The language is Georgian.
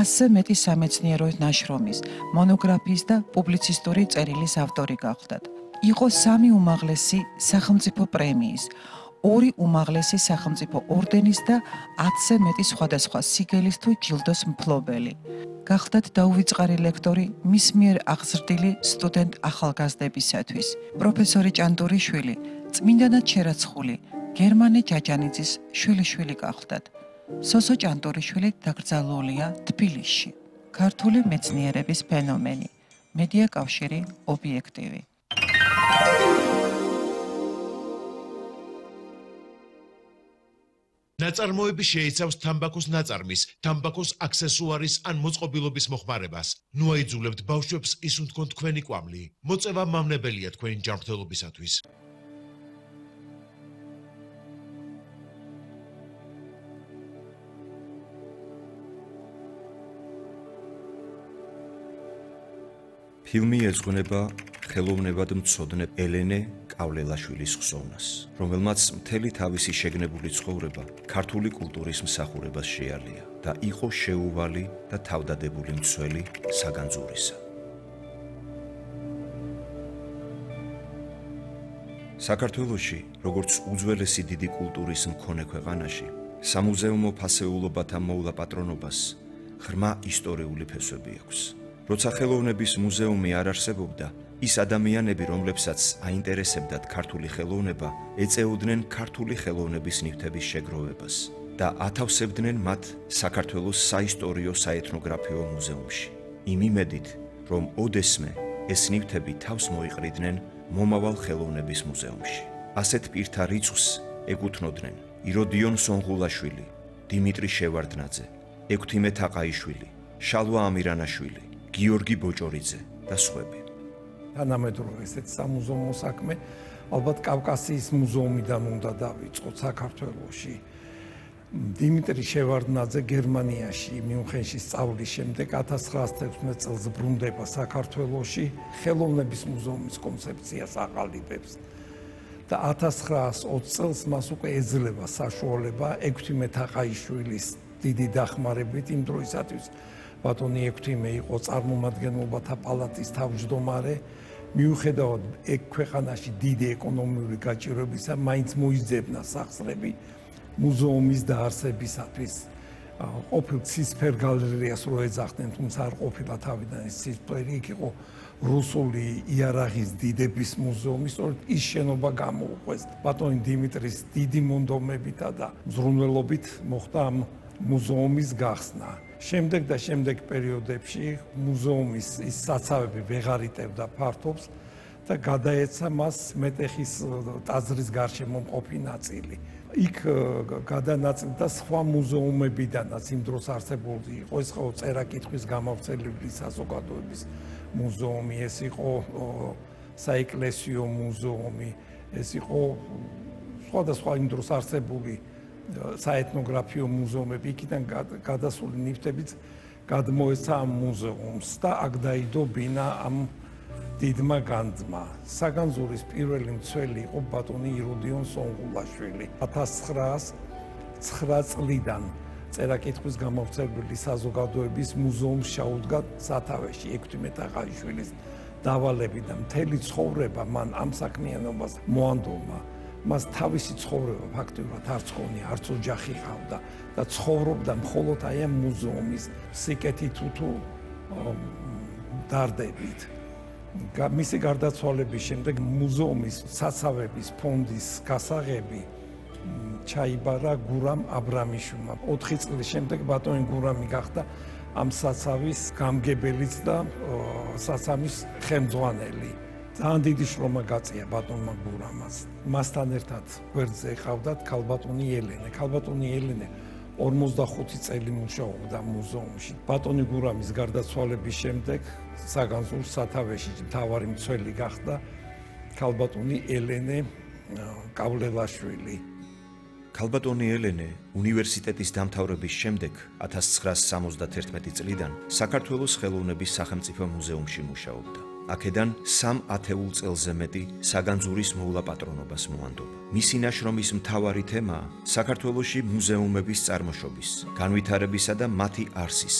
100-ზე მეტი სამეცნიერო ნაშრომის, მონოგრაფიის და პუბლიცისტური წერილის ავტორი გახლდათ. იყო 3 უმაღლესი სახელმწიფო პრემიის, 2 უმაღლესი სახელმწიფო ორდენის და 10-ზე მეტი სხვადასხვა სიგელის თუ ჯილდოს მფლობელი. გახლდათ დაუვიწყარი ლექტორი მის მიერ აღზრდილი სტუდენტ ახალგაზრდებისათვის. პროფესორი ჭანტურიშვილი, წმინდანად შერაცხული გერმანე ჯაჯანიძის შვილიშვილი გახლდათ. სოსო ჭანტურიშვილი დაკრძალულია თბილისში. ქართული მეცნიერების ფენომენი. მედია კავშირი ობიექტივი. ნაწარმოები შეიცავს თამბაქოს ნაწარმის, თამბაქოს აქსესუარის ან მოწყობილობის მოხმარებას. ნუ აიძულებთ ბავშვებს ისუნთქონ თქვენი კვამლი. მოწევა მავნებელია თქვენი ჯანმრთელობისათვის. ფილმი ეძღვნება ხელოვნებად მცოდნე ელენე კავლელაშვილის ხსოვნას, რომელმაც მთელი თავისი შეგნებული ცხოვრება ქართული კულტურის მსახურებას შეალია და იყო შეუვალი და თავდადებული მცველი საგანძურისა. საქართველოში, როგორც უძველესი დიდი კულტურის მქონე ქვეყანაში, სამუზეუმო ფასეულობათა მოვლა პატრონობას ღრმა ისტორიული ფესვები აქვს. როცა ხელოვნების მუზეუმი არ არსებობდა, ის ადამიანები, რომლებსაც აინტერესებდათ ქართული ხელოვნება, ეწეოდნენ ქართული ხელოვნების ნივთების შეგროვებას და ათავსებდნენ მათ საქართველოს საისტორიო საეთნოგრაფიო მუზეუმში. იმ იმედით, რომ ოდესმე ეს ნივთები თავს მოიყრიდნენ მომავალ ხელოვნების მუზეუმში. ასეთ პირთა რიცხვს ეკუთვნოდნენ იროდიონ სონღულაშვილი, დიმიტრი შევარდნაძე, ექვთიმე თაყაიშვილი, შალვა ამირანაშვილი, გიორგი ბოჭორიძე და სხვები. თანამედროვე ესეთ სამუზეუმო საქმე ალბათ კავკასიის მუზეუმიდან უნდა დავიწყოთ საქართველოში. დიმიტრი შევარდნაძე გერმანიაში მიუნხენში სწავლის შემდეგ 1916 წელს ბრუნდება საქართველოში, ხელოვნების მუზეუმის კონცეფციას აყალიბებს და 1920 წელს მას უკვე ეძლევა საშუალება ექვთიმე თაყაიშვილის დიდი დახმარებით იმ დროისათვის ბატონი ექვთიმე იყო წარმომადგენლობათა პალატის თავმჯდომარე, მიუხედავად ქვეყანაში დიდი ეკონომიური გაჭირვებისა, მაინც მოიძებნა სახსრები მუზეუმის დაარსებისათვის. ყოფილ ცისფერ გალერეას რო ეძახდნენ, თუმცა არ ყოფილა თავიდან ეს ცისფერი, იქ იყო რუსული იარაღის დიდების მუზეუმი, სწორედ ის შენობა გამოუყვეს. ბატონი დიმიტრის დიდი მონდომებითა და მზრუნველობით მოხდა ამ მუზეუმის გახსნა. შემდეგ და შემდეგ პერიოდებში მუზეუმის ის საცავები ვეღარ იტევდა ფართობს და გადაეცა მას მეტეხის ტაძრის გარშემო მყოფი ნაწილი. იქ გადანაწილდა სხვა მუზეუმებიდანაც იმ დროს არსებული იყო, ეს იყო წერა-კითხვის გამავრცელებელი საზოგადოების მუზეუმი, ეს იყო საეკლესიო მუზეუმი, ეს იყო სხვადასხვა იმ დროს არსებული საეთნოგრაფიო მუზეუმები, იქიდან გადასული ნივთებიც გადმოეცა ამ მუზეუმს და აქ დაიდო ბინა ამ დიდმა განძმა. საგანძურის პირველი მცველი იყო ბატონი იროდიონ სონღულაშვილი. 1909 წლიდან წერა-კითხვის გამავრცელებელი საზოგადოების მუზეუმს ჩაუდგა სათავეში ექვთიმე თაყაიშვილის დავალებით და მთელი ცხოვრება მან ამ საქმიანობას მოანდომა. მას თავისი ცხოვრება ფაქტობრივად არც ხონია, არც ოჯახი ჰყავდა და ცხოვრობდა მხოლოდ აი ამ მუზეუმის სიკეთით თუ დარდებით. მისი გარდაცვალების შემდეგ მუზეუმის საცავების ფონდის გასაღები ჩაიბარა გურამ აბრამიშვილმა. 4 წლის შემდეგ ბატონი გურამი გახდა ამ საცავის გამგებელიც და საცავის ხელმძღვანელი. ძალიან დიდი შრომა გაწია ბატონმა გურამას. მასთან ერთად გვერდზე ყავდათ ქალბატონი ელენე. ქალბატონი ელენე 45 წელი მუშაობდა მუზეუმში. ბატონი გურამის გარდაცვალების შემდეგ საგანძურს სათავეში მთავარი მცველი გახდა ქალბატონი ელენე კავლელაშვილი. ქალბატონი ელენე უნივერსიტეტის დამთავრების შემდეგ 1971 წლიდან საქართველოს ხელოვნების სახელმწიფო მუზეუმში მუშაობდა. აქედან 3 ათეულ წელზე მეტი საგანძურის მოვლა პატრონობას მოანდომა. მისი ნაშრომის მთავარი თემაა საქართველოში მუზეუმების წარმოშობის, განვითარებისა და მათი არსის